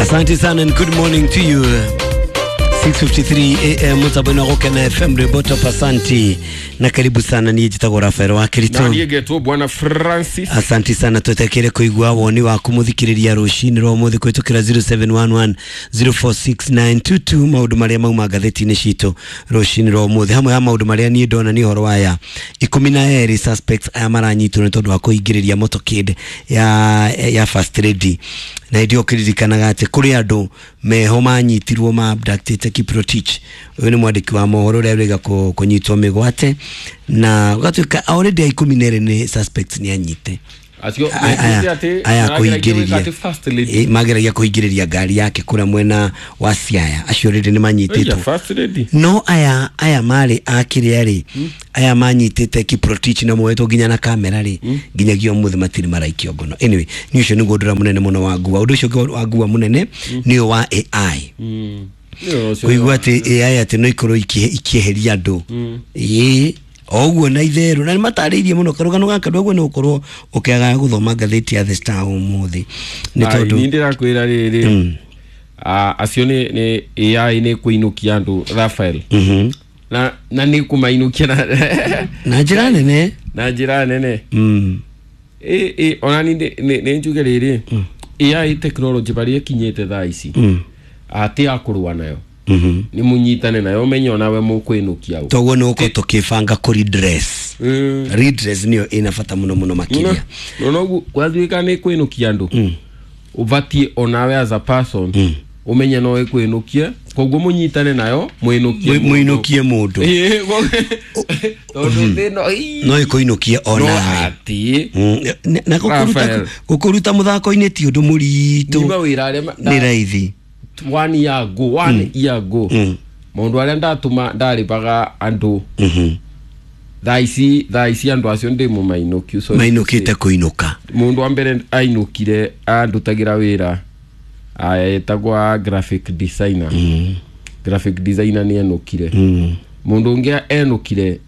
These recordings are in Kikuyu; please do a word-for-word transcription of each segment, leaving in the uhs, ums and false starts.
Asante sana and good morning to you. six fifty-three A M mutabona Gukena F M Reboto pasanti na karibu sana ni jitagwo Rafael wa Kirito na nigetwo Bwana Francis. Asante sana twetekere kuigua woni waku muthikiriria rucini rwa muthi kwitukira zero seven one one zero four six nine two two maundu maria mauma ngatheti-ini citu rucini rwa muthi hamwe ha maundu maria nie ndona ni horo waya ikumi na eri suspects aya maranyitwo ni tondu wa kuingiriria motorcade ya ya First Lady na ndio kiririkanaga ati kuri andu meho manyitirwo ma abducted Kiprotich uyu ni mwandiki wa mohoro uria urega kunyitwo migwate na gatuika already ikumi na eri ni suspects ni anyite acio aya kuingiriria mageragia kuingiriria ngari yake kura mwena wa Siaya acio already ni manyititwo no aya aya mari akiria ri aya manyitite Kiprotich na moetwo nginya na kamera ri nginyagia umuthi matiri maraikio ngono. Anyway ni ucio niguo ndura munene muno wa ngua undu ucio wa ngua munene ni wa A I kuigua ati A I ati no ikorwo ikieheria andu ii oguo na itheru na mataririe muno karugano gaka ndũguo nĩ ũkorwo ũkĩaga gũthoma ngathĩti ya The Star ũmũthĩ nĩ tondũ ni ndĩrakwĩra rĩrĩ ah acio nĩ nĩ A I nĩ kũinũkia andũ Rafael na na nĩ kũmainũkia na na njĩra nene na njĩra nene ĩ ĩ ona ni nĩ njuge rĩrĩ A I technology barĩa ĩkinyĩte thaa ici atĩ ya kũrũa nayo ni munyitane nayo menye onawe mukwinukia u toguo ni uko tukibanga ku redress redress niyo ina bata muno muno makiria no no gwathuika ni kwinukia andu ubatie onawe as a person umenye no ikwinukie koguo munyitane nayo mwinukie mwinukie mundu tondu thino no ikuinukie onawe ati na gukuruta gukuruta muthako-ini ti undu muritu ni raithi one year ago one mm. year ago mm. Maundu aria ndatuma ndaribaga andu mm thaa ici thaa ici andu acio ndi mumainũkiu so mainũkite kuinuka mundu wa mbere ainũkire andutagira wira etagwa graphic designer mm. graphic designer ni enũkire mm. mundu ungi enũkire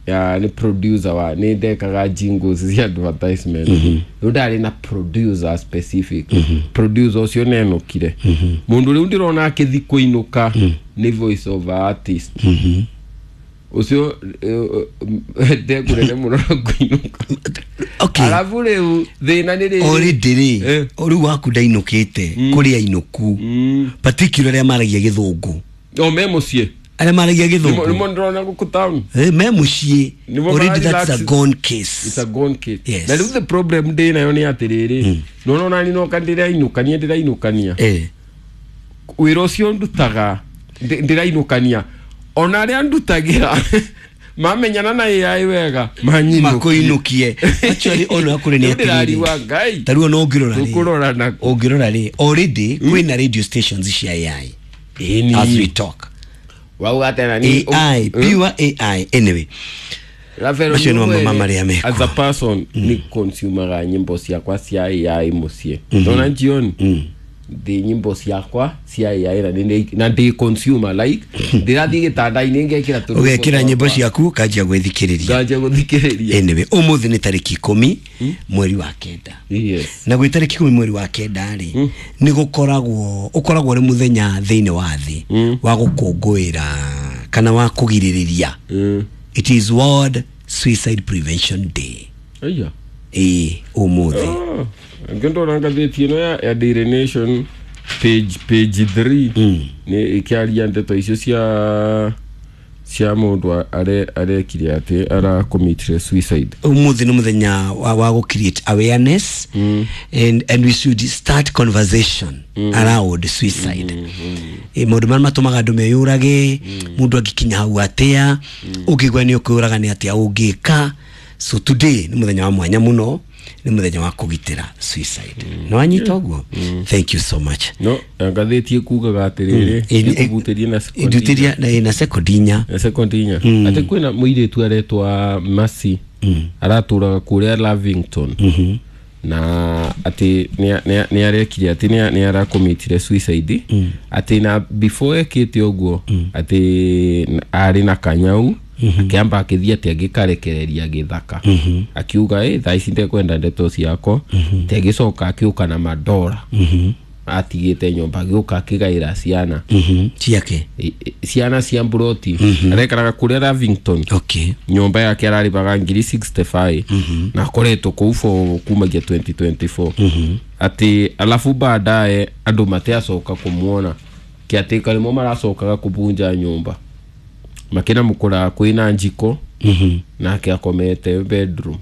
ni producer wa ni ndekaga jingles cia advertisement mm -hmm. Ndari na producer specific mm -hmm. producer ucio ne enũkire mm -hmm. Mundu riu ndirona akithi kuinuka mm. ni voice over artist mm -hmm. Ucio ndekurere muno kuinuka okay alafu riu thina ni riri already ri riu waku ndainukite kuri ainuku particular aria maragia githungu o me mucie aria maragia githungu ni ndĩrona gũkũ town eh me muciĩ already that's a gone case it's a gone case yes. Na rĩu the problem ndĩ nayo nĩ atĩrĩrĩ nona nani no kandĩrainũkania ndĩrainũkania eh wĩra ũcio ndutaga ndĩrainũkania ona arĩa ndutagĩra mamenyana na A I wega makuinukie actually ona kuri ni atiriri ngai taruo no ngirora ri ngurora na ungirora ri already kwina radio stations cia A I as we talk wauga tena ni A I pure A I anyway Rafael no mama Maria meko as a person ni consumer nyimbo ciakwa cia A I mucie ndona jioni ndi nyimbo ciakwa cia A I na ndi na ndi consumer like ndirathi gitanda-inĩ ngekira tu ugekira nyimbo ciaku kanjia gwithikiriria kanjia guthikiriria anyway umuthi ni tariki ikumi mweri wa kenda yes na gwi tariki ikumi mweri wa kenda ri ni gukoragwo ukoragwo ri muthenya thiini wa thi wa gukungũĩra kana wa kugiririria it is World Suicide Prevention Day aya eh umuthi ngendo ngathĩti ĩno ya Daily Nation page page three ni ikiaria ndeto icio cia cia mundu are arekire ati ara commit suicide umuthi ni muthenya wa, wa create awareness mm. and and we should start conversation mm. around suicide mm. mm. e maundu maria matumaga andu meyurage mundu angikinya hau atia ungigwa ni ukuyuraga ni atia ungika so today ni muthenya wa mwanya muno ni muthenya wa kugitira suicide mm. no anyita uguo mm. Thank you so much no ngathĩti ĩkugaga atĩrĩrĩ ĩkũhutĩrie na ĩndutĩria na na sekondi inya na sekondi inya atĩ kwĩna mũirĩtu aretwa Mercy aratũraga kũrĩa Lavington na atĩ nĩ arekire atĩ nĩ arakomitire suicide atĩ na before ekĩte ũguo atĩ arĩ na kanyau akiamba akithia ati agikarekereria githaka akiuga eh thaa ici ndekwenda ndeto ciako ati agicoka akiuka na madora atigite nyomba gĩũka akĩgaĩra ciana mhm ciake ciana cia mburoti arekaraga kũrĩa Lavington. Okay. Nyomba yake ararĩbaga ngiri sixty-five na akoretwo kũu for kumagia twenty twenty-four. Ati alafu baadaye andũ matiacoka kũmuona kĩatĩka nĩmo maracokaga kũbunja nyũmba makĩna mũkũra kwĩna njiko nake akomete bedroom.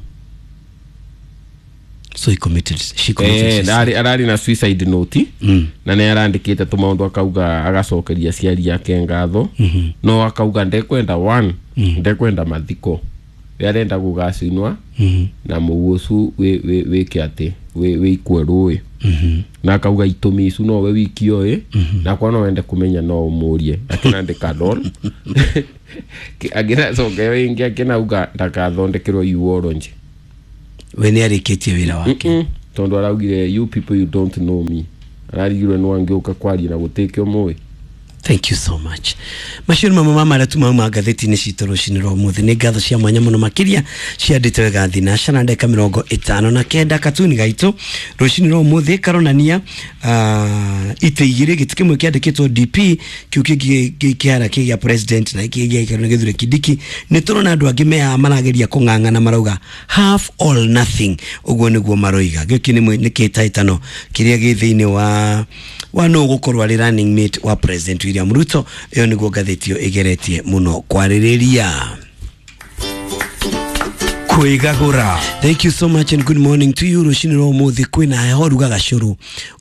So he committed, she committed eh, suicide. Arari, arari na suicide note mm. na nĩ arandĩkĩte tũmaũndũ akauga agacokeria aciari ake ngatho mm -hmm. no akauga ndekwenda one mm. ndekwenda mathiko we arenda gũgacinwa mm -hmm. na mũu ũcu wĩke atĩ wĩikue rũĩ mm -hmm. na akauga itũmi icu nowe wiki oĩ mm -hmm. na kwa no wende kũmenya no ũmũrie akĩnandĩka doll agĩcoka ĩyo ĩngĩ akĩnauga ndakathondekerwo eulogy. We nĩ arĩkĩtie wĩra wake mm -mm. Tondu araugire you people you don't know me ararigirwe no angĩũka kwaria na gũtĩkio mũĩ. Thank you so much. Macio nĩ mamwe ma marĩa tumauma ngathĩti-inĩ citũ rũcinĩ rwa ũmũthĩ. Nĩ ngatho cia mwanya mũno makĩria ciandĩtwo wega thinaca na ndagĩka mĩrongo ĩtano na kenda. Katuni gaitũ rũcinĩ rwa ũmũthĩ karonania uh, itĩ igĩrĩ, gĩtĩ kĩmwe kĩandĩkĩtwo D P kĩu kĩngĩ kĩhara kĩ gĩa president na kĩngĩ gĩaikaro nĩ Gĩthure Kindiki. Nĩ tũrona andũ angĩ mehaha marageria kũng'ang'ana marauga half all nothing, ũguo nĩguo maroiga. Gĩkĩ nĩ kĩhĩtahĩtano kĩrĩa gĩ thĩinĩ wa wa no gũkorwo arĩ running mate wa President William Ruto. Ĩyo nĩguo ngathĩti ĩyo ĩgeretie mũno kwarĩrĩria. Kwĩgagũra. Thank you so much and good morning to you. Rũcinĩ rwa ũmũthĩ kwĩna heho ruga gacũrũ.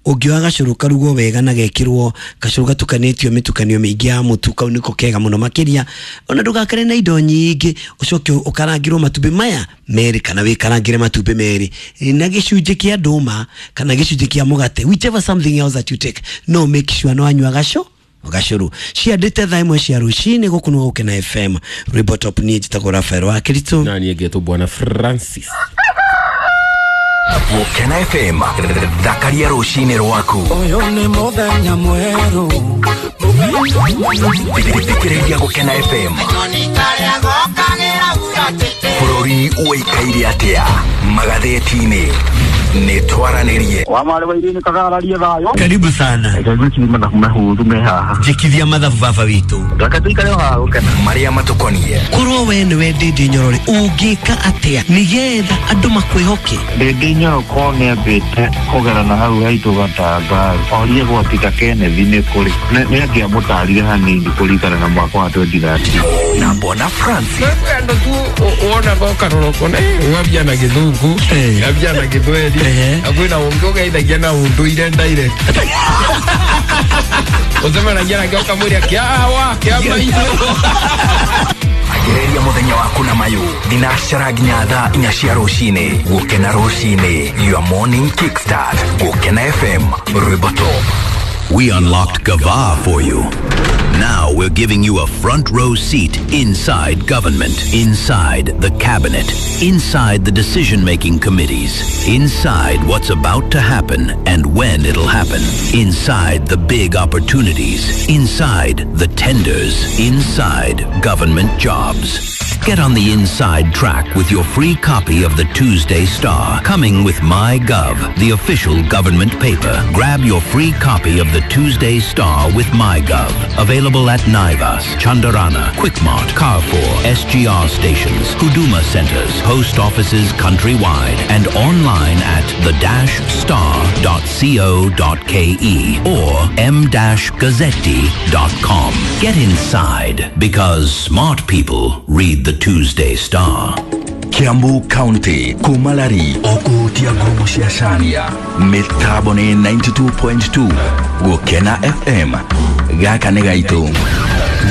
Ũngĩoya gacũrũ karugwo wega na gekĩrwo gacũrũ gatukanĩtio mĩtukanio mĩingĩ ya mũtu, kau nĩko kega mũno makĩria. Ona ndũgakare na indo nyingĩ, ũcoke ũkarangĩrwo matumbĩ maya merĩ kana wĩkarangĩre matumbĩ merĩ na gĩcunjĩ kĩa ndũma kana gĩcunjĩ kĩa mũgate, whichever something else that you take, no make sure no anyua gacũ gacũrũ. Ciandĩte thaa ĩmwe cia rũcinĩ gũkũ nĩ Gũkena F M. Rwĩmbo top niĩ njĩtagwo Rafael wa Kĩritũ na niĩ ngetwo Bwana Francis. Gũkena F M, thakaria rũcinĩ rwaku. Ũyũ nĩ mũthenya mwerũ. Thikĩrĩria Gũkena F M. Bũrũri ũikaire atĩa magathĩti-inĩ nĩ twaranĩrie. Wa marĩ wa irini kagararie thayũ. Karibu sana. Karibu mathabu mahũthũ me haha. Njĩkithia mathabu baba witũ. Reke tũikare haha Gũkena. Marĩa matũkonie. Korwo we nĩwe Ndĩndĩ Nyorore ũngĩka atĩa nĩgetha andũ makwĩhoke? Ndĩndĩ Nyoro korwo nĩambĩte kũgerana hau haitũ Gatanga orie gwatita Kenneth nĩ kũrĩ nĩ angĩamũtarire hanini kũringana na mwaka wa twenty thirteen. Na Bwana Francis. Andũ tu wonaga ũkarora ũkona ng'ambia na gĩthũngũ ng'ambia na gĩthweri akwĩna ũngĩ ũgeithagia na ũndũire direct ũcemanagia nake ũkamwĩra kĩawa kĩa maitũ. Agereria mũthenya waku na mayũ thinacara nginya thaa inya cia rũcinĩ. Gũkena rũcinĩ, your morning kickstart. Gũkena F M, rwĩmbo top. We unlocked Gava for you. Now we're giving you a front row seat inside government, inside the cabinet, inside the decision-making committees, inside what's about to happen and when it'll happen, inside the big opportunities, inside the tenders, inside government jobs. Get on the inside track with your free copy of the Tuesday Star, coming with MyGov, the official government paper. Grab your free copy of the Tuesday Star with MyGov. Available at Naivas, Chandarana, Quickmart, Carrefour, S G R stations, Huduma centers, post offices countrywide, and online at the dash star dot co dot ke or m dash gazzetti dot com. Get inside, because smart people read the Tuesday Star. Kiambu County, Kumalari, Okutia Ngurumo cia Cania, mĩtambo nĩ ninety-two point two, Gũkena F M, gaka nĩ gaitũ.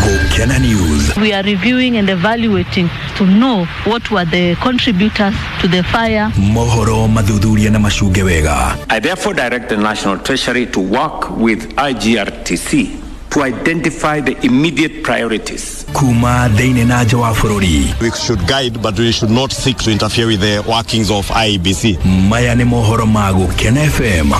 Gũkena News. We are reviewing and evaluating to know what were the contributors to the fire. Mohoro mathuthuria na macunge wega. I therefore direct the National Treasury to work with I G R T C to identify the immediate priorities. Kuma thĩinĩ na nja wa bũrũri. We should guide, but we should not seek to interfere with the workings of I E B C. Maya nĩ mohoro ma Gũkena F M.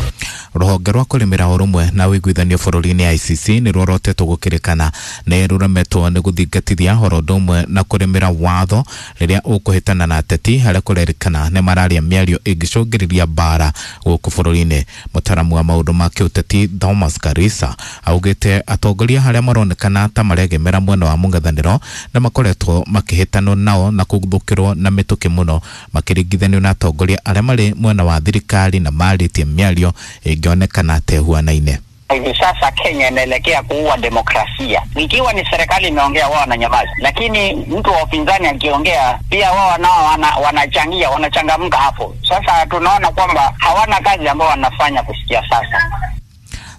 Rũhonge rwa kũrĩmĩra ũrũmwe na ũiguithanio bũrũri-inĩ I C C nĩ rworotetwo gũkĩrĩkana nĩ rũremetwo nĩ gũthingatithia oro ũndũ ũmwe na kũrĩmĩra watho rĩrĩa ũkũhĩtana na ateti harĩa kũrerĩkana nĩ mararia mĩario ĩngĩcũngĩrĩria mbara gũkũ bũrũri-inĩ. Mũtaaramu wa maũndũ ma kĩũteti Thomas Karisa augĩte atongoria harĩa maronekana ta maregemera mwena wa mũng'ethanĩro na makoretwo makĩhĩtanwo nao na kũguthũkĩrwo na mĩtũkĩ mũno makĩringithanio na atongoria arĩa marĩ mwena wa thirikari na marĩtie mĩario ĩngĩonekana ta ĩhuanaine. Hivi sasa Kenya inaelekea kuua demokrasia. Ikiwa ni serikali imeongea wao wananyamaza, lakini mtu wa upinzani akiongea pia wao nao wana, wanachangia, wanachangamka hapo. Sasa tunaona kwamba hawana kazi ambayo wanafanya kusikia sasa.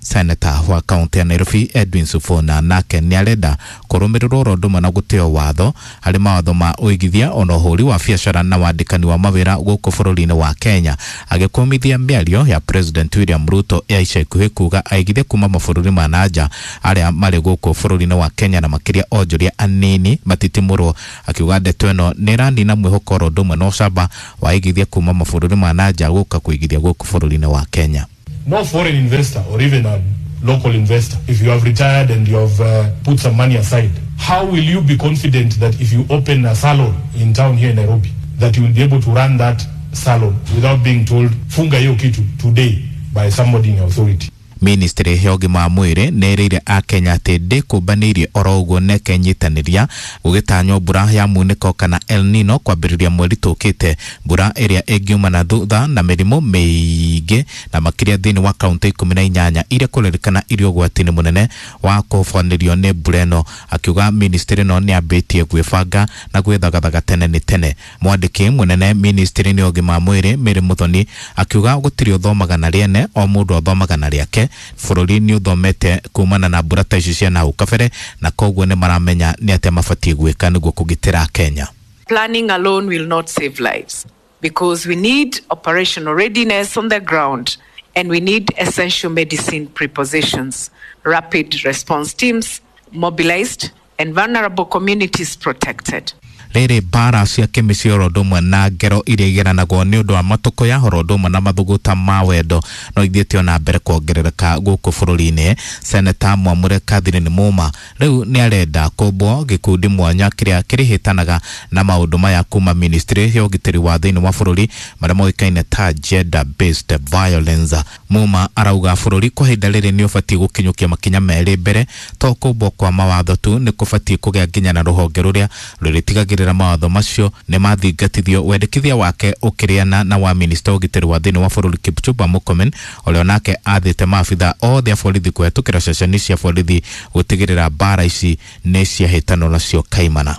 Senator wa kaunti ya Nairobi Edwin Sifuna nake nĩarenda kũrũmĩrĩrwo oro ũndũ ũmwe na gũtĩo watho harĩ mawatho ma ũigithia ona ũhũri wa biacara na wandĩkani wa mawĩra gũkũ bũrũri-inĩ wa Kenya, agĩkũmithia mĩario ya President William Ruto ya ica ikuhĩ kuga aigithia kuma mabũrũri ma nanja arĩa marĩ gũkũ bũrũri-inĩ wa Kenya na makĩria onjoria anini matitimũrwo, akiuga ndeto ĩno nĩ ĩranina mwĩhoko oro ũndũ ũmwe na ũcamba wa aigithia kuma mabũrũri ma nanja gũka kũigithia gũkũ bũrũri-inĩ wa Kenya. No foreign investor or even a local investor, if you have retired and you have uh, put some money aside, how will you be confident that if you open a salon in town here in Nairobi, that you will be able to run that salon without being told, funga hiyo kitu today by somebody in authority? Ministry ya ũgima wa mwĩrĩ nĩ ĩrĩire akenya atĩ ndĩkũmbanĩirie oro ũguo na ĩkenyitanĩria gũgĩtanywo mbura ya munĩko kana El Nino kwambĩrĩria mweri tũkĩte, mbura ĩrĩa ĩngiumana thutha na mĩrimũ mĩingĩ na makĩria thĩinĩ wa kaunti ikũmi na inyanya iria kũrerĩkana irĩ ũgwati-inĩ mũnene wa kũhobanĩrio nĩ mbura ĩno. Akiuga ministry ĩno nĩ yambĩtie gwĩbanga na gwĩthagathaga tene nĩ tene. Mwandĩki mũnene ministry-inĩ ya ũgima wa mwĩrĩ Mary Muthoni akiuga gũtirĩ ũthomaga na rĩene, o mũndũ athomaga na rĩake. Bũrũri nĩ ũthomete kumana na mbura ta ici cia nahau kabere na koguo nĩ maramenya nĩ atĩa mabatiĩ gwĩka nĩguo kũgitĩra Kenya. Planning alone will not save lives because we need operational readiness on the ground and we need essential medicine prepositions, rapid response teams mobilized and vulnerable communities protected. Rĩrĩ mbara cia kĩmĩciĩ oro ũndũ ũmwe na ngero iria igeranagwo nĩ ũndũ wa matũkũ ya oro ũndũ ũmwe na mathũgũta ma wendo no ithiĩte ona mbere kuongerereka gũkũ bũrũri-inĩ. Seneta Mwamure Catherine Muma rĩu nĩ arenda kũmbwo gĩkundi mwanya kĩrĩa kĩrĩhĩtanaga na maũndũ maya kuma ministry ya ũgitĩri wa thĩinĩ wa bũrũri marĩa moĩkaine ta gender based violence. Muma arauga bũrũri kwa ihinda rĩrĩ nĩ ũbatiĩ gũkinyũkia makinya merĩ mbere, to kũmbwo kwa mawatho tu, nĩ kũbatiĩ kũgĩa nginya na rũhonge rũrĩa rũrĩtigagĩrĩra mawatho macio nĩ mathingatithio. Wendekithia wake ũkĩrĩana na wa minista ũgitĩri wa thĩinĩ wa bũrũri Kipchumba Murkomen ũrĩa onake athĩte maabitha othe a borithi kũhetũkĩra ceceni cia borithi gũtigĩrĩra mbara ici nĩ ciahĩtanwo nacio kaimana.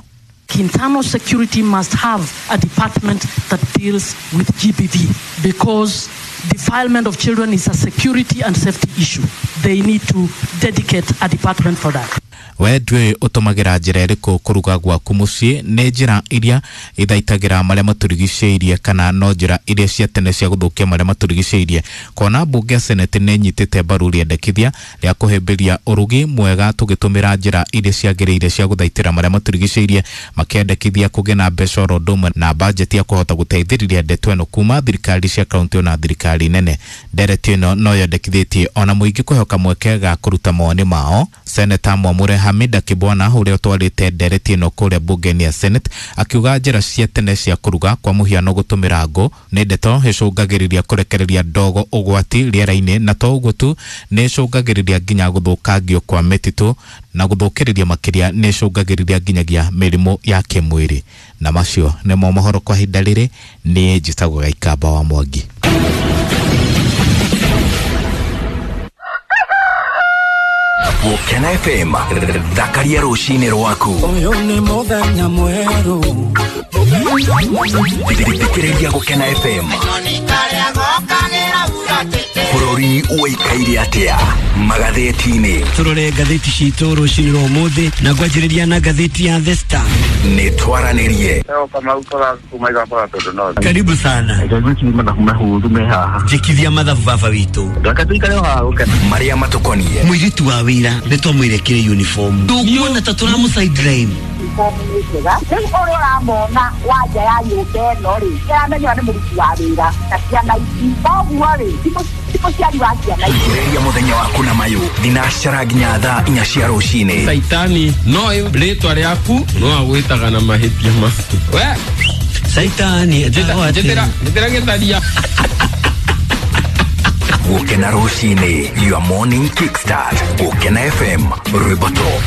Internal security must have a department that deals with G B V because defilement of children is a security and safety issue. They need to dedicate a department for that. We ndũĩ ũtũmagĩra njĩra ĩrĩkũ kũruga gwaku mũciĩ? Nĩ njĩra iria ithaitagĩra marĩa matũrigicĩirie kana no njĩra iria cia tene cia gũthũkia marĩa matũrigicĩirie? Kona mbunge ya Senate nĩ ĩnyitĩte mbaru rĩendekithia rĩa kũhĩmbĩria ũrugi mwega tũgĩtũmĩra njĩra iria ciagĩrĩire cia gũthaitĩra marĩa matũrigicĩirie, makĩendekithia kũgĩa na mbeca oro ũndũ ũmwe na bajeti ya kũhota gũteithĩrĩria ndeto ĩno kuma thirikari cia kaunti na thirikari nene. Ndereti ĩno no yendekithĩtie ona mũingĩ kũheo kamweke ga kũruta mawoni mao. Seneta Mwamure Hamida Kibwana ũrĩa ũtwarĩte ndereti ĩno kũrĩa mbunge-inĩ ya Senate akiuga njĩra cia tene cia kũruga kwa mũhiano gũtũmĩra ngũ nĩ ndeto ĩcũngagĩrĩria kũrekereria ndogo ũgwati rĩera-inĩ, na to ũguo tu nĩ ĩcũngagĩrĩria nginya gũthũkangio kwa mĩtitũ na gũthũkĩrĩria makĩria nĩ ĩcũngagĩrĩria nginyagia mĩrimũ ya kĩmwĩrĩ. Na macio nĩmo mohoro kwa ihinda rĩrĩ. Niĩ njĩtagwo Gaikamba wa Mwangi. Gũkena F M thakaria rũcinĩ rwaku. Ũyũ nĩ mũthenya mwerũ. Thikĩrĩria Gũkena F M. Bũrũri ũikaire atĩa magathĩti-inĩ? Tũrore ngathĩti citũ rũcinĩ rwa ũmũthĩ na ngwanjĩrĩria na ngathĩti ya The Star. Nĩ twaranĩrie. Karibu sana. Njĩkithia mathabu baba witũ. Marĩa matũkoniĩ. Mũirĩtu wa wĩra nĩ twamwĩre kĩrĩ uniform. Tũkuona ta tũramũ sideline. uniform nĩ njega. Rĩu ũrĩa ũramona wa nja ya nyũmba ĩno rĩ, nĩaramenywo nĩ mũruti wa wĩra na ciana ici. Koguo rĩ, ti mũ- ti mũciari wa ciana ici. Ambĩrĩria mũthenya waku na mayũ thinacara nginya thaa inya cia rũcinĩ. Saitani no rĩtwa rĩaku no agwĩtaga na mahĩtia maku we. Saitani etagwo atĩa? Njĩtĩra njĩtĩra gĩtharia. Gũkena rũcinĩ, your morning kickstart. Gũkena F M, rwĩmbo top.